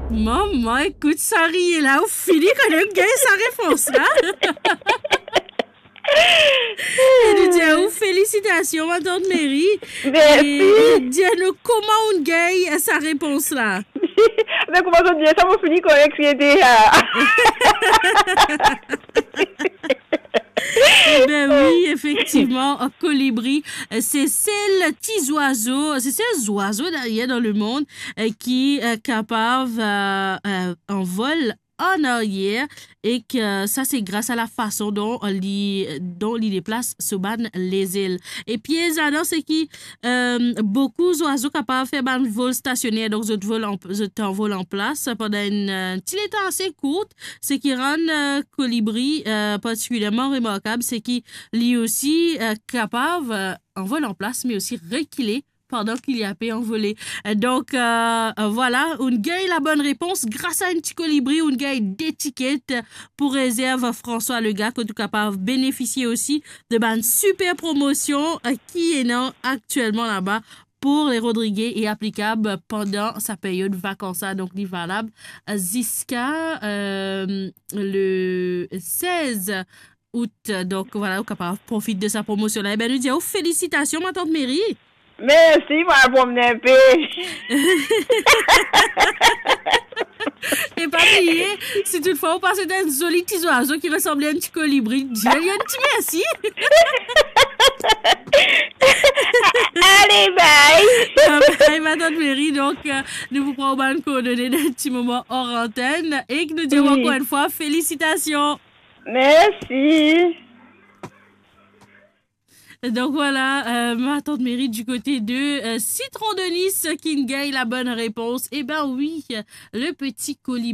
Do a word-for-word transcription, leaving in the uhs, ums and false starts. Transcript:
Mama, ekout sa riye la, ou fini kan ou gagn sa repons la. E nou dir ou felisitasion, matant Meri. Mersi. E, e dir nou kouma ou gagn sa repons la. Me kouma zot dir sa, mo fini korek, ete, ah. Ebe wi, efektivman, kolibri, eh, se sel ti zwazo, se sel zwazo dayer dan lemond, eh, ki, eh, kapav, eh, eh, anvol an aryer, e ki sa se gras a lafason dont li, dont li deplas so bann lezel. E piez ladan, se ki, eh, boukou zwazo kapav fer bann vol stasioner, donk zot vol an, zot anvol an plas pandan enn, eh, ti letan ase kourt, seki rann, eh, kolibri, eh, partikilierman remarkab, seki li osi, eh, kapav, eh, anvol an plas, me osi rekile pandan ki li ape anvole. Eh, donk, eh, vwala, ou gagn labonn repons gras a enn ti kolibri, ou gagn de tiket pou rezerv François Legac, kot ou kapav benefisie osi de bann siper promosion, eh, ki ena aktielman laba pour les Rodriguais e aplikab pandan sa period vakans la. Donk, li valab, eh, ziska, eh, le sez out. Donk, vwala, ou kapav profit de sa promosion la. Ebe, nou dir ou felisitasion, matant Meri. Mersi, mo al promne enpe. E pa bliye, si toutfwa ou pas enn zoli ti zwazo ki resanble enn ti kolibri, dir li enn ti mersi. Ale, bye. Bye, matant Meri. Donk, eh, nou pou pran ou bann koordone dan enn ti moman or antenn. E ki nou dir ou, wi, ankor enn fwa, felisitasion. Mersi. Donk vwala, eh, matant Meri du kote de, eh, Citron de Nice ki gagn labonn repons. Ebe wi, le peti kolibri.